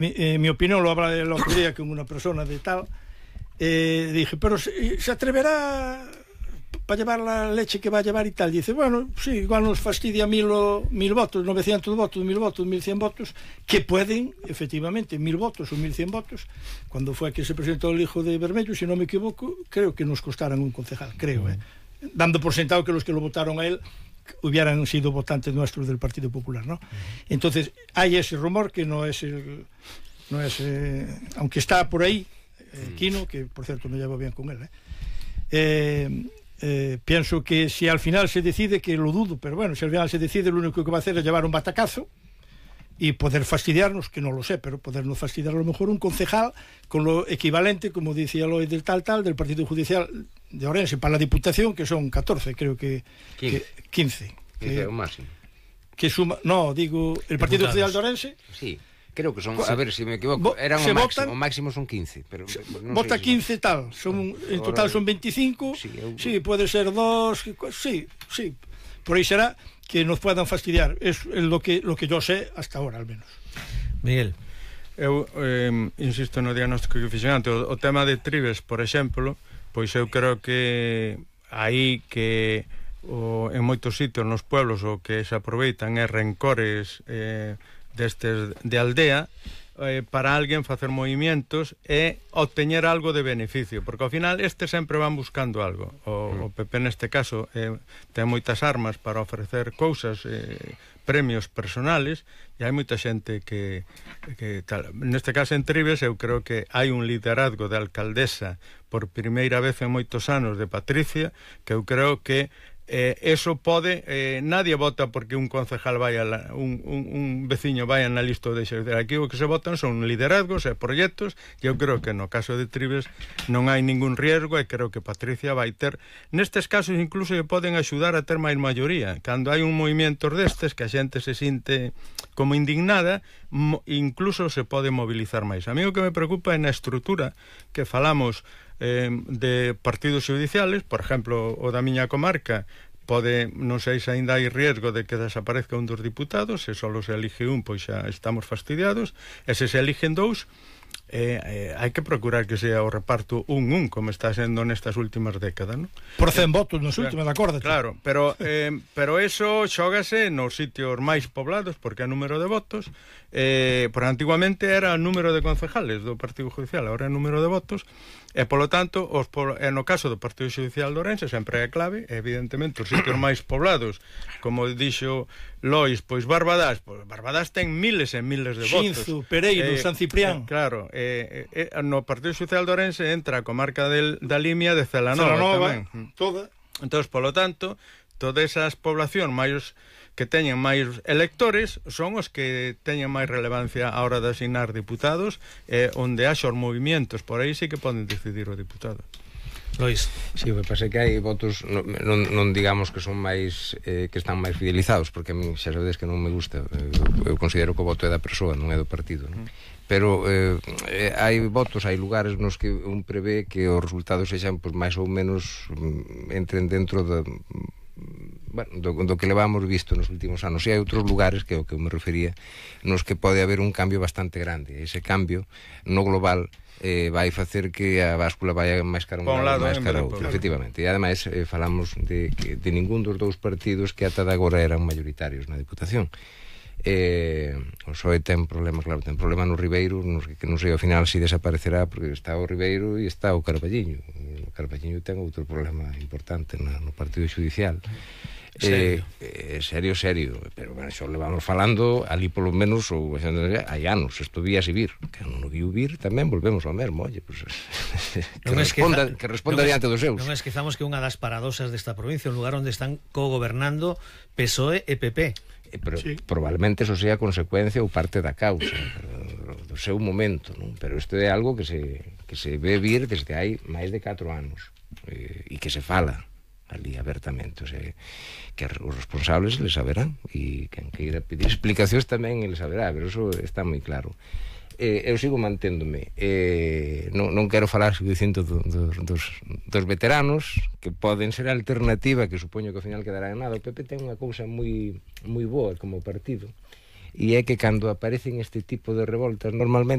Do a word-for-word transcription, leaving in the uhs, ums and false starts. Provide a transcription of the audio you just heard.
mi, eh, mi opinión lo habla el otro día con una persona de tal, eh, dije, pero se, se atreverá para llevar la leche que va a llevar y tal. Dice, bueno, sí, igual nos fastidia mil, o, mil votos, novecientos votos, mil votos, mil cien votos, que pueden, efectivamente, mil votos o mil cien votos. Cuando fue que se presentó el hijo de Bermello, si no me equivoco, creo que nos costaran un concejal, creo, eh. Dando por sentado que los que lo votaron a él hubieran sido votantes nuestros del Partido Popular, ¿no? Entonces, hay ese rumor que no es el, no es, eh, aunque está por ahí, eh, Quino, que por cierto me llevo bien con él, eh, eh Eh, pienso que si al final se decide, que lo dudo, pero bueno, si al final se decide, lo único que va a hacer es llevar un batacazo y poder fastidiarnos, que no lo sé, pero podernos fastidiar a lo mejor un concejal con lo equivalente, como decía Eloy, del tal tal, del Partido Judicial de Ourense para la Diputación, que son catorce, creo que quince, que, quince, que é o máximo. Que suma, no, digo, el Partido Judicial de Ourense. Sí. Creo que son, a ver se si me equivoco, eran o máximo, o máximo son quince, pero non vota si quince son... tal, son en total son veinticinco. Sí, eu... sí, puede ser dos, sí, sí. Por aí será que nos puedan fastidiar. Es lo que lo que yo sé hasta ahora, al menos. Miguel, eu eh, insisto no diagnóstico que fixen antes, o, o tema de Trives, por exemplo, pois eu creo que aí que o, en moitos sitios nos pueblos o que se aproveitan é rencores eh, destes de aldea eh, para alguén facer movimientos e obteñer algo de beneficio, porque ao final estes sempre van buscando algo. O, o P P neste caso eh, ten moitas armas para ofrecer cousas, eh, premios personales, e hai moita xente que, que tal. Neste caso en Trives eu creo que hai un liderazgo de alcaldesa por primeira vez en moitos anos de Patricia, que eu creo que Eh, eso pode, eh, nadie vota porque un concejal vaya la, un, un, un veciño vaya na lista de xercer. Aquí o que se votan son liderazgos e proxectos, e eu creo que no caso de Trives non hai ningún riesgo, e creo que Patricia vai ter, nestes casos incluso lle poden axudar a ter máis maioría. Cando hai un movimento destes que a xente se sinte como indignada, mo, incluso se pode mobilizar máis. A mí o que me preocupa é na estrutura que falamos Eh, de partidos judiciales, por exemplo, o da miña comarca pode, non sei se ainda hai riesgo de que desaparezca un dos diputados, se só se elige un, pois xa estamos fastidiados, e se se eligen dous, eh, eh, hai que procurar que sea o reparto un un, como está sendo nestas últimas décadas, non? Por cen votos nos últimos, acórdate. Claro, pero, eh, pero eso xógase nos sitios máis poblados, porque é número de votos, eh, por antiguamente era o número de concejales do Partido Judicial, agora é número de votos, e polo tanto os, e no caso do Partido Judicial de Ourense sempre é clave, evidentemente os sitios máis poblados, como dixo Lois, pois Barbadás, pois Barbadás ten miles e miles de votos. Xinzo, Pereiro, eh, San Ciprián. Eh, claro, eh, eh, no Partido Judicial de Ourense entra a comarca del, da Limia de Celanova, Celanova tamén. Toda. Entón, polo tanto, todas esas poblacións máis que teñen máis electores son os que teñen máis relevancia a hora de asignar diputados, eh, onde haxa os movimentos, por aí sí que poden decidir o diputado. Lois. Si, sí, o que pasa é que hai votos non, non, non digamos que son máis eh, que están máis fidelizados, porque a mí xa sabedes que non me gusta, eu, eu considero que o voto é da persoa, non é do partido, non? Pero eh, eh, hai votos, hai lugares nos que un prevé que os resultados sexan pues, máis ou menos entren dentro da bueno, do, do que levamos visto nos últimos anos. E hai outros lugares, que é o que eu me refería, nos que pode haber un cambio bastante grande. Ese cambio no global eh, vai facer que a báscula vai máis cara un lado, máis cara outro, efectivamente. E ademais eh, falamos de, que, de ningún dos dous partidos que ata de agora eran mayoritarios na Diputación. Eh, o P S O E ten problema, claro, ten problema no Ribeiro, nos, que non sei ao final se si desaparecerá, porque está o Ribeiro e está o Carballiño. O Carballiño ten outro problema importante na, no Partido Judicial. Serio? Eh, eh, serio, serio, pero bueno, xo levamos falando ali polo menos ou hai anos, isto vía se vir, que non o viu vir, tamén volvemos ao mesmo, oye, pues, que, responda, esqueza, que responda diante dos seus. Non esquezamos que unha das paradosas desta provincia, un lugar onde están cogobernando P S O E e P P. Eh, pero sí. Probablemente eso sea consecuencia ou parte da causa do seu momento, non? Pero isto é algo que se, que se ve vir desde hai máis de catro anos eh, e que se fala ali abertamente, o sea, que os responsables les saberán e quen queira pedir explicacións tamén les saberá, pero eso está moi claro. Eh, eu sigo manténdome, eh, non, non quero falar dicindo do, do, dos, dos veteranos que poden ser alternativa, que supoño que ao final quedará en nada. O P P ten unha cousa moi moi boa como partido, e é que cando aparecen este tipo de revoltas normalmente